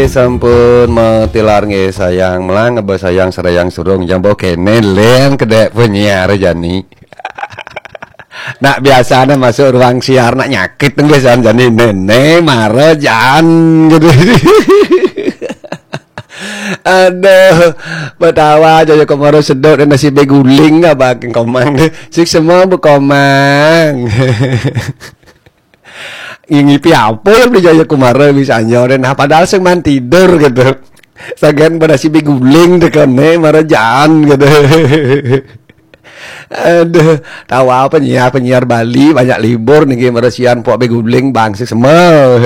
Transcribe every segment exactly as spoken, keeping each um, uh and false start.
Sampun matilar nggih, sayang melang, ngeba sayang serayang surung, jambo kene len kedek penyiar jani. Nak biasane masuk ruang siar nak nyakit nggih san jani, nene mara jan gitu. Aduh, betawa aja ya kemaro sedok dan nasi beguling abang komang. Sik semua bekomang. Ngipi apa ya beli jaya kumara misalnya, nah padahal sing man tidur gitu. Sagan pada si beguling tekene mara jan gitu. Aduh, tawa penyiar-penyiar Bali banyak libur niki, meresian pok beguling bangsi semua.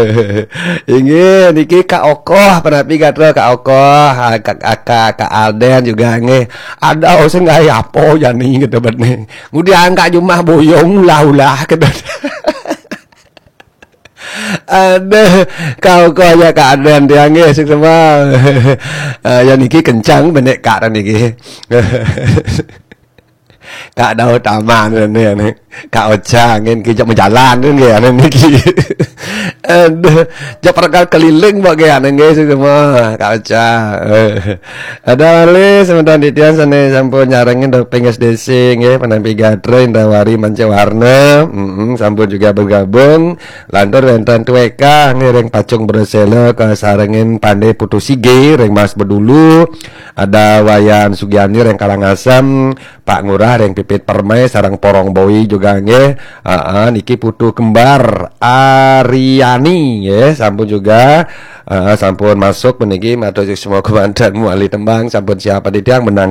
Inggih niki Kak Okoh, penapi gatra Kak Okoh, ah, Kak, Kak, Kak Alden juga nggih. Ada sing gawe apa jani gitu bet nih. Ngudi angkat jumah boyong ulah-ulah gitu. Aduh, Kak Okoh ya Kak Alden tiang nggih sing semua. Ah, ya niki kencang benek Kak niki. Kak Daud Taman ni, ni. Kak Ocha ngin kijak menjalan ni nggih ane niki. Aduh, jak perkal keliling bak nggih ane nggih semua. Kak Ocha. Ada malih semeton titiang sane sampun nyarengin doping S D C nggih, penampi gatra Indrawari Manca Warna. Mm-mm, sampun juga bergabung. Lantur wenten tueka ngiring pacung bersela kasarengin Pande Putu Sige ring Mas Bedulu. Ada Wayan Sugiani ring Karangasem, Pak Ngurah ring Pipit Permai sareng Porong Boi juga nggih. Aa, niki Putu Kembar Ariani nggih, sampun juga. Aa, sampun masuk meniki matur semua kemanten muali tembang sampun siap titiang menang